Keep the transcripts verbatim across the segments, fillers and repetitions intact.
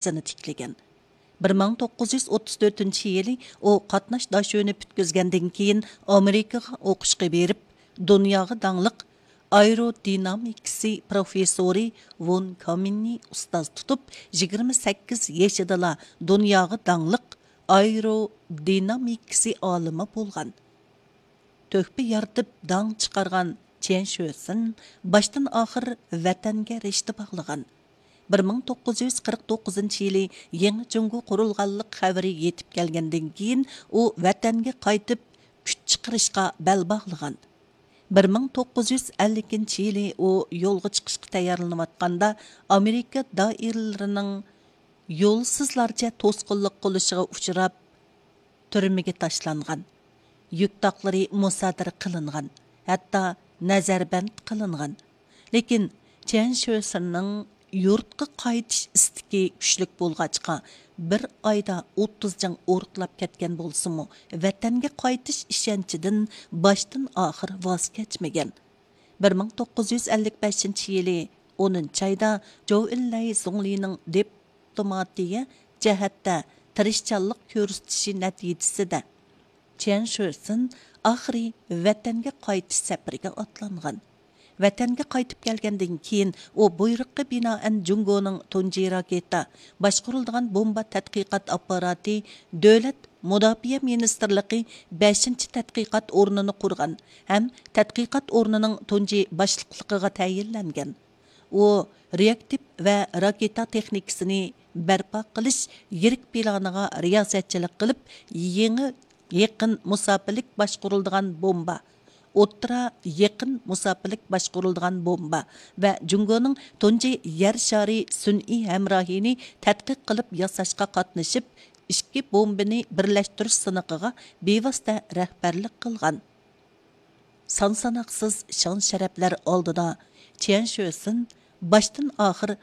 ئىزىنى تىكلىگەن. بىر مىڭ توققۇز يۈز ئوتتۇز تۆتىنچى يىلى ئۇ قاتناش داشۆنى پۈتكۈزگەندىن كېيىن، ئامېرىكىغا ئوقۇشقا بېرىپ، دۇنياغا داڭلىق ئايرودىنامىكىسى پروفېسسورى ۋون كامىننى ئۇستاز تۇتۇپ، يىگىرمە سەككىز يېشىدىلا دۇنياغا داڭلىق ئايرودىنامىكىسى ئالىمى بولغان. تۆھپە يارىتىپ داڭ چىقارغان چيەن شۆسىن باشتىن ئاخىر ۋەتەنگە رىشتە باغلىغان. بىر مىڭ توققۇز يۈز قىرىق توققۇزىنچى يىلى يېڭى جۇڭگو قۇرۇلغانلىق خەۋىرى يېتىپ كەلگەندىن كېيىن، ئۇ ۋەتەنگە قايتىپ كۈچ چىقىرىشقا بەل باغلىغان. بىر مىڭ توققۇز يۈز ئەللىكىنچى يىلى ئۇ يولغا چىقىشقا تەييارلىنىۋاتقاندا، ئامېرىكا دائىرىلىرىنىڭ يولسىزلارچە توسقۇنلۇق قىلىشىغا ئۇچراپ، تۈرمىگە تاشلانغان، يۈك تاقلىرى مۇسادىرە قىلىنغان، ھەتتا نەزەربەند قىلىنغان. لېكىن چيەن شۆسىننىڭ يۇرتقا قايتىش ئىستىكى كۈچلۈك بولغاچقا، بىر ئايدا ئوتتۇز جەڭ ئورۇقلاپ كەتكەن بولسىمۇ، ۋەتەنگە قايتىش ئىشەنچىدىن باشتىن ئاخىر ۋاز كەچمىگەن. بىر مىڭ توققۇز يۈز ئەللىك بەشىنچى يىلى ئونىنچى ئايدا جوۋ ئىنلەي زۇڭلىنىڭ دىپلوماتىيە جەھەتتە تىرىشچانلىق كۆرسىتىشى نەتىجىسىدە، چيەن شۆسىن ئاخىرى ۋەتەنگە قايتىش سەپىرىگە ئاتلانغان. ۋەتەنگە قايتىپ كەلگەندىن كېيىن، ئۇ بۇيرۇققا بىنائەن جۇڭگونىڭ تۇنجى راكېتا باشقۇرۇلىدىغان بومبا تەتقىقات ئاپپاراتى دۆلەت مۇداپىئە مىنىستىرلىقى بەشىنچى تەتقىقات ئورنىنى قۇرغان ھەم تەتقىقات ئورنىنىڭ تۇنجى باشلىقلىقىغا تەيىنلەنگەن. ئۇ رېئاكتىپ ۋە راكېتا تېخنىكىسىنى بەرپا قىلىش يىرىك پىلانىغا رىياسەتچىلىك قىلىپ، يېڭى يېقىن مۇساپىلىك باشقۇرۇلىدىغان بومبا، ئوتتۇرا يېقىن مۇساپىلىك باشقۇرۇلىدىغان بومبا ۋە جۇڭگونىڭ تۇنجى يەر شارى سۈنئىي ھەمراھىنى تەتقىق قىلىپ ياساشقا قاتنىشىپ، ئىككى بومبىنى بىرلەشتۈرۈش سىنىقىغا بىۋاسىتە رەھبەرلىك قىلغان. سان ساناقسىز شان شەرەپلەر ئالدىدا چيەن شۆسىن باشتىن ئاخىر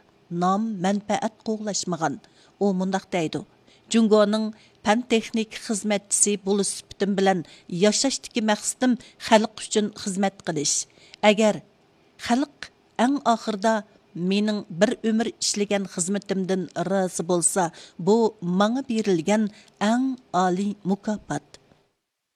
نام مەنپەئەت قوغلاشمىغان. ئۇ مۇنداق دەيدۇ: جۇڭگونىڭ پەن تېخنىك خىزمەتچىسى بولۇش سۈپىتىم بىلەن ياشاشتىكى مەقسىتىم خەلق ئۈچۈن خىزمەت قىلىش. ئەگەر خەلق ئەڭ ئاخىرىدا مېنىڭ بىر ئۆمۈر ئىشلىگەن خىزمىتىمدىن رازى بولسا، بۇ ماڭا بېرىلگەن ئەڭ ئالىي مۇكاپات.